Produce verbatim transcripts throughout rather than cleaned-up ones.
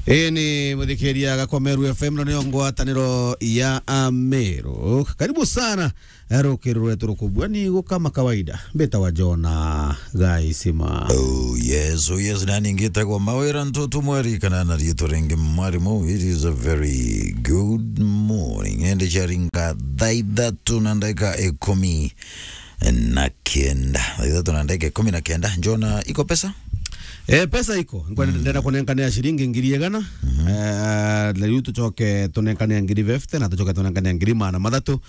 Ii ni muthikiria Gakomeru F M, no niyo ngwataniro ya Ameru. Karibu sana, eh, rukiri rwetu rukubua ni gu kama kawaida. Mbitawa Jona Gaisima. Oh yes, oh yes, nani ngitagwa Mawira Ntutu Mweri, kana na riitwa ringi Mwarimu. It is a very good morning. Indi ciaringa thaa ithatu na ndagika ikumi na kenda. Thaa ithatu na ndagika ikumi na kenda. Jona, iko pesa? Eh, pesa iko. Nkwe-, mm, ndenda kunenkanira ciringi ngiri igana. Mhm. Eh, na riu tucoke tunenkanire ngiri fifty, na tucoke tunenkanire ngiri maana mathatu.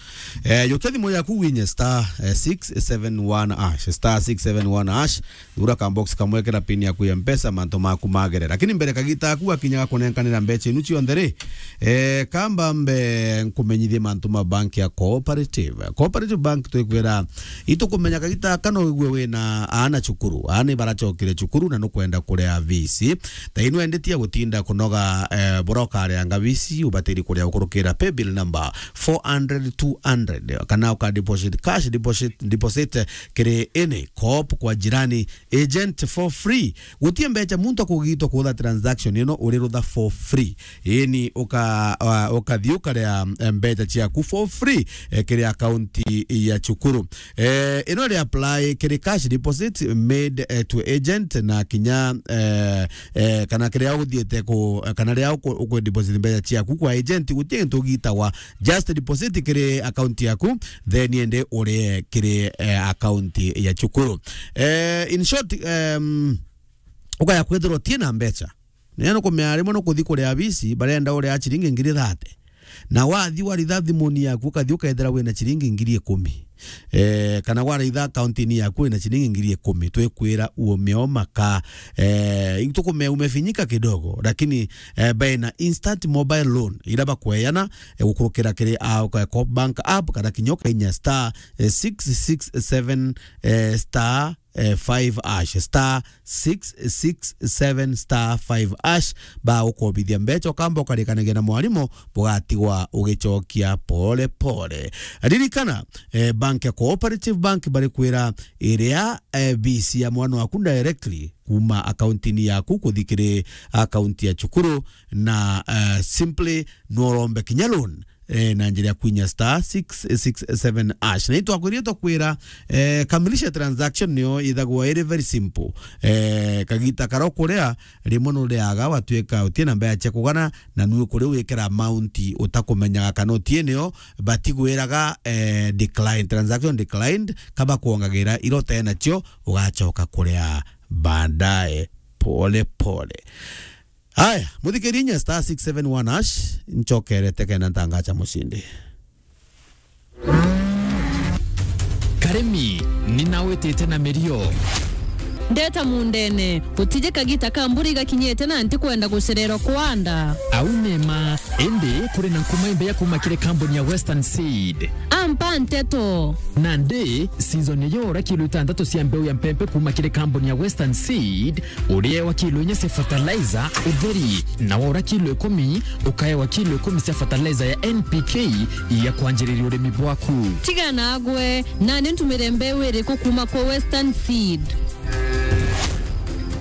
Eh, jukia thimu yaku winye star, eh, six seven one hash, star six seven one hash. Thura ka box kamwe, kira pin yaku ya Mpesa, mantu maku magere. Lakini mbere kagita aku gakinya ga kunenkanira mbeca inu cionthe ri, eh, kamba mbe nkumenyithie mantu ma bank ya Cooperative. Cooperative Bank twikwira, itukumenya kagita aka no wigue wina aana cukuru. Aana ibaracokire cukuru na nukwenda kuria fees. Thaino endetia gutinda kunoga, eh, bura ukarianga fees, ubatiri kuria ukurukira paybill number four hundred two hundred, kana uka deposit cash, deposit, deposit kiri any Coop kwa jirani agent for free. Gutie mbeca muntu akugitwa kuutha transaction ino, uri rutha for free. Ii ni uka-, uh, ukathi ukaria, eh, mbeca ciaku for free, eh, kiri akaunti ya cukuru. Eh, ino ri apply kiri cash deposit made, eh, to agent na kinya, eh, eh, kana kiria uthiite ku, kana riria uku-, uku deposit mbeca ciaku kwa agent, gutie gintu gitagwa Just deposit kiri account yaku, then ende urie kiri, eh, account ya cukuru. Eh, in short, um, ukaya kwithirwa utie na mbeca. Nene nukumenya rimwe nukuthi kuria fees, barenda uria ciringi ngiri thirty. Na wathi waritha thimuni yaku, ukathi ukethira wina ciringi ngiri ikumi. Eh, kana waritha account-ini yaku wina ciringi ngiri ikumi, twikwira ume o maka. Eh, itukumenya umefinyika kidogo, lakini, eh, baina instant mobile loan, ira bakweana, eh, gukurukira kiri, ah, uka-, Coop Bank app, kana kinya ukainya star, eh, six six seven, eh, star, eh, five hash, star six six seven star five hash, ba ukobithia mbeca, ukamba ukarikanagia na mwarimu, bugatigwa ugicokia pole pole. Ririkana, eh, bank ya Cooperative Bank barikwira iria, eh, fees ya mwana waku directly kuma account-ini yaku kuthi kiri account ya cukuru, na, eh, simply no urombe kinya loan, eh, na njira ya kwinya star six six seven hash. Na itwakwirie twakwira, eh, kamilisha transaction niyo ithagwa iri very simple. Eh, kagita karia ukuria, rimwe nuriaga watuika utie na mbeca cia kugana, na nui ukuria wikira amount utakumenyaga kana utie niyo, batigwiraga, eh, decline, transaction declined, kaba kuongagira ira utee nacio, ugacoka kuria baadaye pole pole. Haya, muthikiria inya star six seven one hash, nchokerete kenda ntangacha mucindi. Karimi, ninawitite na mirio. Ndeta mundene, gutije kagita ka mbura igakinyite na ntikwenda gucererwa kwanda. Au ni ma, indi kuri na nkuma imbeya kuma kiri kambuni ya Western Seed. Ampa nteto. Nandi, season iyo ura kilo itantatu cia mbeu ya mpempe kuma kiri kambuni ya Western Seed, uriewa kilo inya cia fertilizer utheri, na waura kilo ikumi, ukaewa kilo ikumi cia fertilizer ya N P K ya kwanjiriria urimi bwaku. Tiga nagwe, nani ntumire mbeu iriku kuma kwa Western Seed?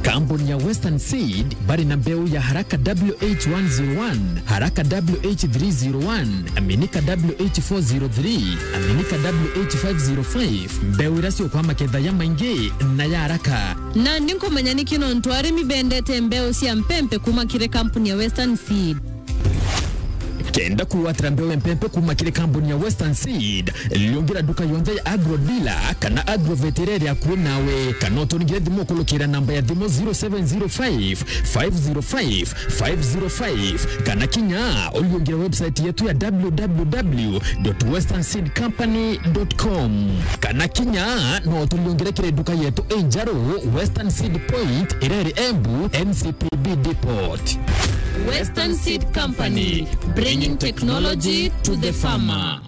Kambuni ya Western Seed bari na mbeu ya Haraka W H one zero one, Haraka W H three zero one, Aminika W H four zero three, Aminika W H five zero five, mbeu iria ciukwa maketha ya maingi na ya haraka. Nandi nkumenya niki nontu arimi bendete mbeu cia mpempe kuma kiri kampuni ya Western Seed. Kenda kwigwatira mbeu ya mpempe kuma kiri kampuni ya Western Seed, liungira nduka yonthe ya Agro Dealer kana Agrovet iria iri akui nawe, kana uturingire thimu ukulukira namba ya thimu zero seven zero five, five zero five, five zero five, kana kinya uliungire website yetu ya w w w dot western seed company dot com, kana kinya no utuliungire kiri nduka yetu injeru, Western Seed Point, iria iri Embu, N C P B Depot. Western Seed Company, bringing technology to the farmer.